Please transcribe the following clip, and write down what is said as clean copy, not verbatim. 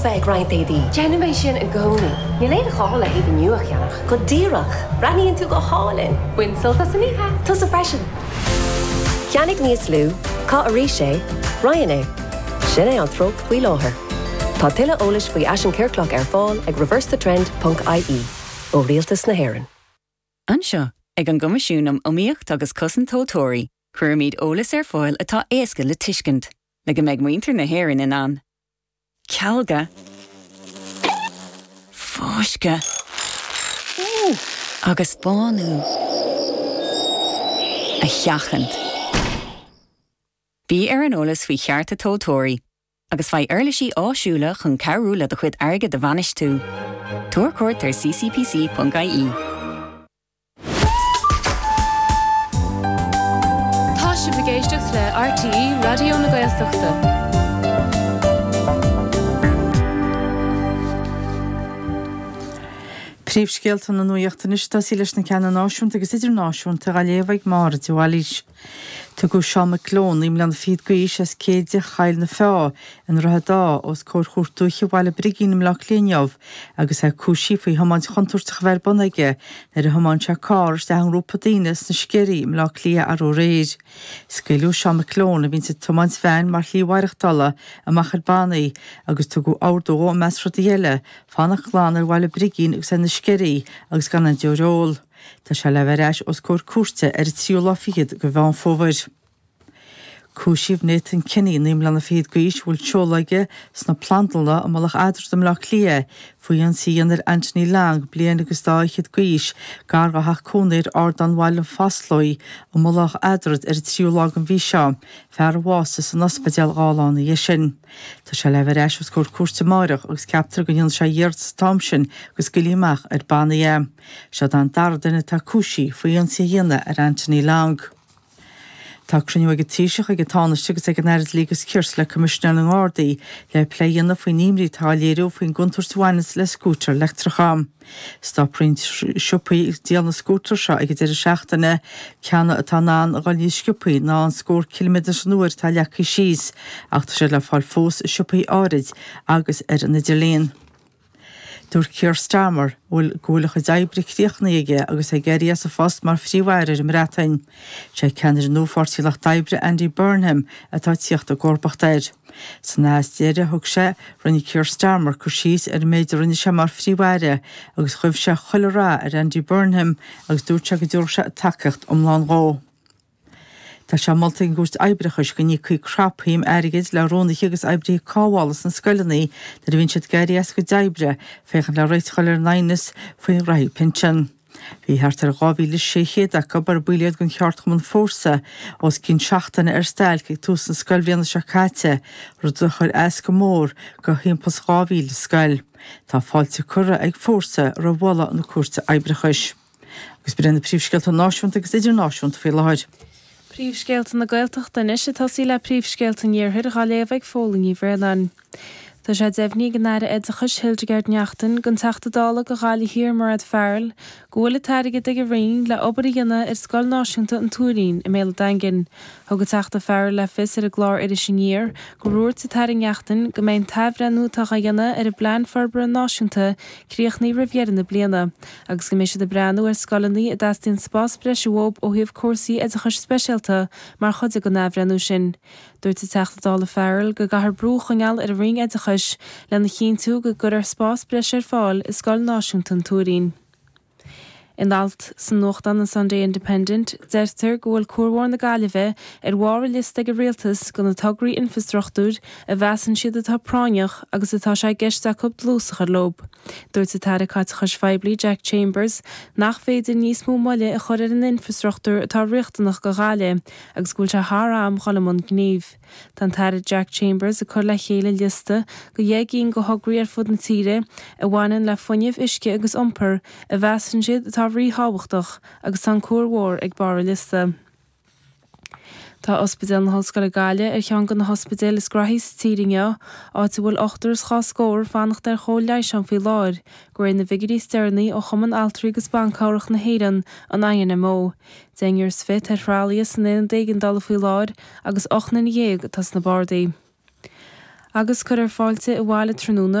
bheith ag roinnt éadaí. Déanaim é sin i gcónaí. Níl aon ghá le héadaí nua a cheannach. Go díreach! Breathnaíonn tú go hálainn! Bain sult as an oíche! Tusa freisin! Ceannaigh níos lú, caith arís é, roinn é. Sin é an treocht faoi láthair. Tá tuilleadh eolais faoi fhaisean ciorclach ar fáil ag reversethetrend ponc ie ó Rialtas na hÉireann. Anseo, ag an gCoimisiún um Iomaíocht agus Cosaint Tomhaltóirí, cuirimid eolas ar fáil atá éasca le tuiscint, le go mbeidh muintir na hÉireann in ann cealga, fáisceadh agus bánú a sheachaint. Bí ar an eolas faoi chearta tomhaltóirí agus faigh uirlisí áisiúla chun cabhrú le do chuid airgid a bhainistiú. Tabhair cuairt ar ccpc.ie. Tá sibh ag éisteacht le RTÉ Raidió na Gaeltachta. Príomhscéalta na nuachta anois ag tosaí leis na ceanna náisiúnta agus idirnáisiúnta á léamh ag Máire de Bhailís. Tugadh Seán McGlone, 9 mbliana fichead d'aois, as Céide Choill na Feá i nDroichead Átha, os comhair Chúirt Dúiche Bhaile Brigín i mBleá Cliath inniu agus é cúisithe faoi thiomáint chontúirteach a bheith ar bun aige nuair a thiomáin sé carr isteach i ngrúpa daoine sna Sceirí i mBleá Cliath arú aréir. Scaoileadh Seán McGlone, a bhíonns ag tiomáint veain mar shlí mhaireachtála, amach ar bannaí agus tugadh ordú dhó, i measc rudaí eile, fanacht glan ar Bhaile Brigín agus ar na Sceirí agus gan aon deoir a ól. Tá sé le bheith ar ais os comhair cúirte ar an tríú lá fichead de Mheán Fómhair. Cúisíodh Nathan Kenny, 9 mbliana fichead d'aois, a bhfuil seoladh aige sna Plandlanna i Mullach Eadrad i mBleá Cliath, faoi ionsaí a dhéanamh ar Anthony Long, bliain agus dá fhichead d'aois, gar dá theach cónaí ar Ardán Bhaile an Phaslóigh i Mullach Eadrad ar an tríú lá den mhí seo, fear a bhásaigh san ospidéal 2 lá ina dhiaidh sin. Tá sé le bheith ar ais os comhair cúirte amáireach agus ceaptar go ndéanfaidh sé iarratas an t-am sin go scaoilfí amach ar bannaí é. Seo é an dara duine atá cúisithe faoi ionsaí a dhéanamh ar Anthony Long. Tá cruinniú ag an Taoiseach, ag an Tánaiste agus ag an Aire Dlí agus Cirt le Coimisinéir na nGardaí le plé a dhéanamh faoin imní atá á léiriú faoin gcontúirt a bhaineanns le scútair leictreacha. Stop roinnt siopaí ag díol na scútar seo ag an deireadh seachtaine, ceanna atá in ann a dhul níos sciobthaí ná an scór ciliméadar san uair atá leagtha síos, ach tá siad le fáil fós i siopaí áirid agus ar an idirlíon. Dúirt Keir Starmer go bhfuil a chuid oibre críochnaithe aige agus é ag éirí as a phost mar Phríomh-Aire ar an mBreatain. Sé ceannaire nua Pháirtí an Lucht Oibre, Andy Burnham, atá ag tíocht i gcomharbacht air. San aitheasc deiridh a thug sé, rinne Keir Starmer cur síos ar an méid a rinne sé mar Phríomh-Aire agus ghuibh sé chuile rath ar Andy Burnham agus dúirt sé go dtabharfadh sé tacaíocht iomlán dhó. Tá sé molta ag an gCúirt Oibreachais go n-íocfaí crapshuim airgid le rúnaithe agus oibrithe cothabhála sna scoileanna nuair a bhíonn siad ag éirí as a gcuid oibre féachaint le réiteach a fháil ar an aighneas faoi ghraithí pinsean. Bhí thart ar 2,600 acu, ar baill iad den cheardchumann Fórsa, os cionn seachtaine ar stailc ag tús na scoilbhliana seo caite, rud a chuir as go mór do thimpeall is 2,000 scoil. Tá fáilte curtha ag Fórsa roimh mholadh na Cúirte Oibreachais. Agus b'in iad na príomhscéalta náisiúnta agus idirnáisiúnta faoi láthair. Príomhscéalta na Gaeltachta anois ag tosaí le príomhscéalta an Iarthair dhá léamh ag Fódhla Ní Bhraonáin. Tá sé deimhnithe ag an Aire Oideachais Hildegarde Naughton don Teachta Dála do Ghaillimh Thiar Mairéad Farrell go bhfuil an t-airgead ag a Roinn le obair a dhéanamh ar Scoil Náisiúnta an Tuairín i mBéal an Daingin. Thug an Teachta Farrell le fios ar an gclár Iris Aniar gur dhúirt an tAire Naughton go mbeidh an t-athbhreithniú atá á dhéanamh ar an bPlean Forbartha Náisiúnta críochnaithe roimh dheireadh na bliana. agus go mbeidh siad ag breathnú ar scoileanna a dteastaíonn spás breise uathu ó thaobh cúrsaí oideachais speisialta mar chuid den athbhreithniú sin. Dúirt an Teachta Dála Farrell go gcaithfear brú a choinneáil ar an Roinn Oideachais lena chinntiú go gcuirfear spás breise ar fáil i Scoil Náisiúnta an Tuairín. In alt sa nuachtán an Sunday Independent, deirtear go bhfuil Cuar Mhór na Gaillimhe ar bharr an liosta ag an Rialtas de na tograí infreastruchtúir a mheasann siad atá práinneach agus atá sé i gceist acu dlús a chur leo. Dúirt an tAire Caiteachais Phoiblí Jack Chambers nach féidir níos mó moille a chur ar an infreastruchtúr atá riachtanach do Ghaillimh agus go bhfuil sé thar am dhul i mbun gnímh. Tá an tAire Jack Chambers ag cur le chéile liosta de dheich gcinn de thograí ar fud na tíre a bhaineann le fuinneamh, uisce agus iompar a mheasann siad atá ríthábhachtach agus tá an Cuar Mhór ag barr an liosta. Tá Ospidéal na hOllscoile Gaillimh ar cheann de na hospidéil is graithí sa tír inniu, áit a bhfuil ochtar is dhá scór ag fanacht ar chóir leighis ann faoi láthair, de réir na bhfigiúirí is deireanaí ó Chumann Altraí agus Ban Cabhrach na hÉireann, an INMO. Deichniúr is fiche atá ar thralaithe san aonad éigeandála faoi láthair agus 18 nduine atá sna bardaí. Agus cuirfear fáilte abhaile tráthnóna.